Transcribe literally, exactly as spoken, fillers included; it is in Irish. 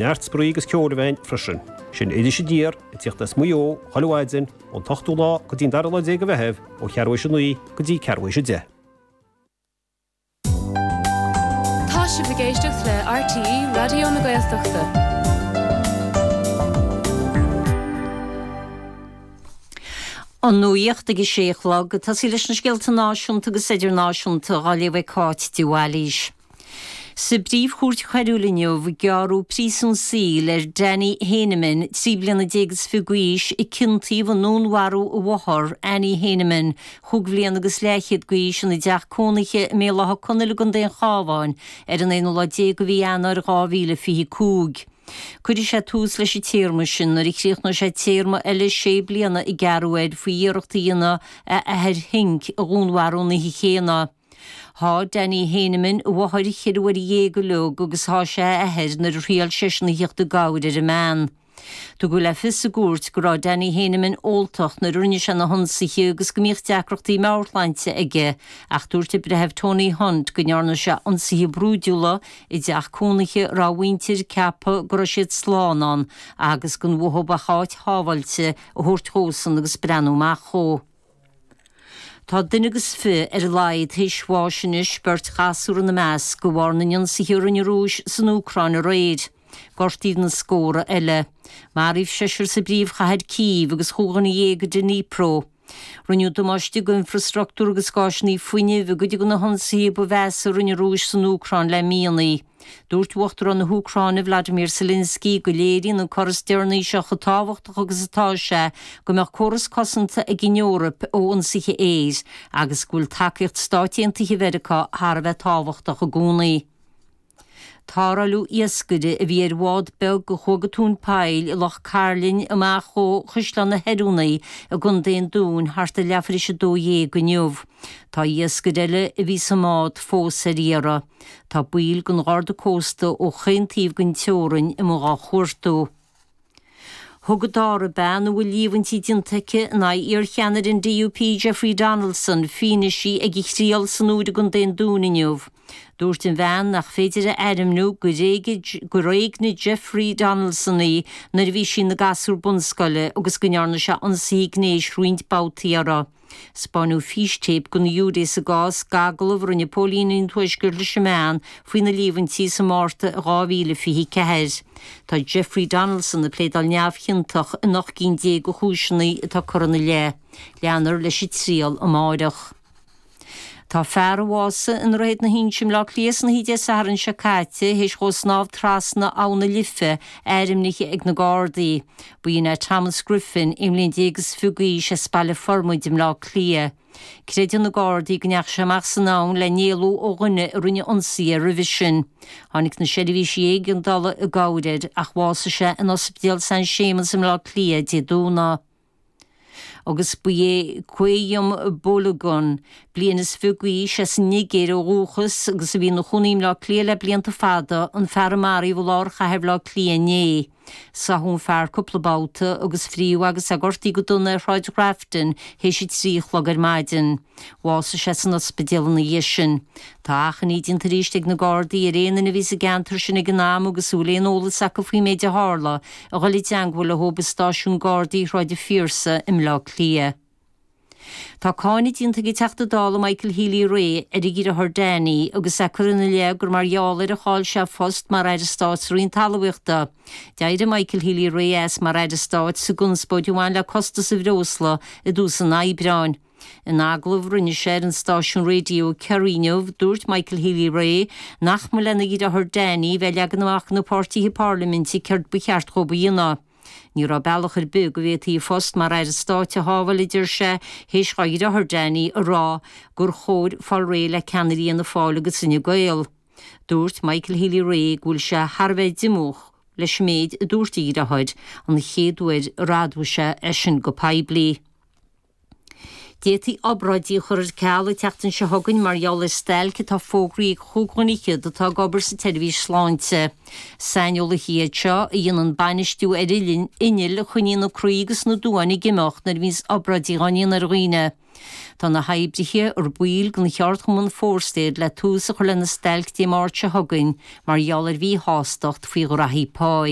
Neart spraoi agus ceoil a bheidh ann freisin. Sin Iris Aniar ag tíocht as Maigh Eo, chuile mhaidin, ón t-ochtú lá go dtí an dara lá déag de Mheitheamh, ó cheathrú théis a naoi go dtí ceathrú théis a deich. Tá sibh ag éisteacht le RTÉ Raidió na Gaeltachta. An nuacht ag a sé a chlog, ag tosaí leis na scéalta náisiúnta agus idirnáisiúnta á léamh ag Cáit de Bhailís. Sa bPríomh-Chúirt Choiriúil inniu, gearradh príosún saoil ar Danny Heyneman, trí bliana déag is fiche d'aois, a ciontaíodh i ndúnmharú a mháthar, Annie Heyneman, chúig bhliana agus leathchéad d'aois, ina dteach cónaithe i mBéal Átha Conaill i gContae an Chabháin ar an aonú lá déag de mhí Eanáir dhá mhíle fiche cúig. Cuirfidh sé tús leis an téarma sin nuair a chríochnóidh sé téarma eile sé bliana a gearradh air faoi iarracht a dhéanamh a athair Henk a dhúnmharú an oíche chéanna. Sháigh Danny Heyneman a mháthair cheithre huaire dhéag uilig agus sháigh sé a athair nuair a thriail seisean a theacht i gcabhair ar an mbean. Tugadh le fios sa gcúirt go raibh Danny Heyneman óltach nuair a rinne sé na hionsaithe agus go mbíodh deacrachtaí meabhairshláinte aige ach dúirt an Breitheamh Tony Hunt go ndearna sé ionsaithe brúidiúla i dteach cónaithe a raibh a mhuintir ag ceapadh go raibh siad slán ann agus gan uathu ach áit shábháilte a thabhairt dhósan agus breathnú amach dhó. Tá duine agus fiche ar a laghad théis bháis anois, beirt ghasúr ina measc, de bharr na n-ionsaithe a rinne an Rúis san Úcráin aréir. Gortaíodh na scórtha eile. Maraíodh seisear sa bpríomhchathair Cív agus chúig dhuine dhéag i Dnipro. Rinneadh damáiste d'infreastruchtúr agus d'áiseanna fuinnimh i gcuid de na hionsaithe ba mheasa a rinne an Rúis san Úcráin le míonna. Dúirt Uachtarán na hÚcráine Vladimir Zelensky go léiríonn an cor is deireanaí seo chomh tábhachtach agus atá sé go mbeadh córas cosanta ag an Eoraip ó ionsaithe aeir agus go bhfuil tacaíocht Stáit Aontaithe Mheiriceá thar a bheith tábhachtach i gcónaí. Tarrtháladh iascaire a bhí ar bhád beag a chuaigh go tóin poill i Loch Cairlinn amach ó Chaisleán na hOiriúnaí i gContae an Dúin thart ar leathuair théis a dó dhéag inniu. Tá iascaire eile a bhí sa mbád fós ar iarraidh. Tá baill den Gharda Cósta ó chaon taobh den teorainn amuigh á chuartú. Thug an dara bean a bhfuil líomhaintí déanta aici in aghaidh iarcheannaire an DUP Jeffrey Donaldson fianaise ag a thriail san Iúr i gContae an Dúin inniu. Dúirt an bhean nach féidir a ainmniú gur éignigh Jeffrey Donaldson í nuair a bhí sí ina gasúr bunscoile agus go ndearna sé ionsaithe gnéis roinnt babhtaí uirthi. 'Spáineadh fístéip don ghiúiré sa gcás, agallamh a rinne póilíní an Tuaiscirt leis an mbean faoi na líomhaintí sa Márta dhá mhíle fiche ceathair. Tá Jeffrey Donaldson ag pléadáil neamhchiontach in ocht gcinn déag de chúiseanna atá curtha ina leith. Leanfar leis an triail amáireach. Tá fear a bhásaigh i nDroichead na hInse i mBleá Cliath san oíche Dé Sathairn seo caite théis dhó snámh trasna Abhainn na Life ainmnithe ag na Gardaí. B'in é Thomas Griffin, aon bhliain déag is fiche d'aois as Baile Formaid i mBleá Cliath. Creideann na Gardaí go ndeachaigh sé amach san abhainn le n-éalú ó dhuine a rinne ionsaí air roimhe sin. Tháinig na seirbhísí éigeandála i gcabhair air ach bhásaigh sé in Ospidéal San Séamas i mBleá Cliath Dé Domhnaigh. Agus ba é Quayum Balogun, bliain is fiche d'aois, as an Nigéir ó dhúchas agus a bhí ina chónaí i mBleá Cliath le blianta fada, an fear a maraíodh i lár chathair Bhaile Átha Cliath inné. Sáthadh an fear cúpla babhta agus fríodh agus é gortaithe go dona ar Shráid Ghrafton théis a trí a chlog ar maidin. Bhásaigh sé san ospidéal ina dhiaidh sin. Tá achainí déanta arís ag na Gardaí ar aon duine a bhí sa gceantar sin ag an am agus a bhfuil aon eolas acu faoin méid a tharla a dhul i dteangmháil leo i Stáisiún Gardaí Shráid an Phiarsaigh i mBleá Cliath. Tá cáineadh déanta ag an Teachta Dála Michael Healy-Rae ar a dheartháir Danny agus é curtha ina leith gur mar gheall air a chaill sé a phost mar Aire Stáit sa Roinn Talmhaíochta. D'éirigh Michael Healy-Rae as mar Aire Stáit sa gconspóid a bhain le costas an bhreosla i dtús an Aibreáin. In agallamh a rinne sé ar an stáisiún raidió Kerry inniu, dúirt Michael Healy-Rae nach mba lena dheartháir Danny bheith ag leagan amach do na páirtithe parlaiminte céard ba cheart dhóibh a dhéanamh. Ní raibh bealach ar bith go bhféadfaí a phost mar Aire Stáit a shábháil, a deir sé, théis dhá dheartháir Danny a rá gur chóir fáil réidh le ceannairí Fhianna Fáil agus Fhine Gael. Dúirt Michael Healy-Rae go bhfuil sé thar a bheith diomúch leis an méid a dúirt a dheartháir, an chéad uair ar admhaigh sé é sin go poiblí. D'fhéadfaí obráidí a chur ar ceal an tseachtain seo chugainn mar gheall ar stailc atá fógraithe ag chúig dhuine fhichead atá ag obair sa tseirbhís sláinte. Saineolaithe iad seo a dhéanann bainistiú ar innill a choinníonn an croí agus na duáin ag imeacht nuair a bhíonns obráidí á ndéanamh ar dhaoine. Tá na hoibrithe ar baill den cheardchumann Fórstaid le tús a chur lena stailc Dé Máirt seo chugainn mar gheall ar mhíshástacht faoi ghraithí pá.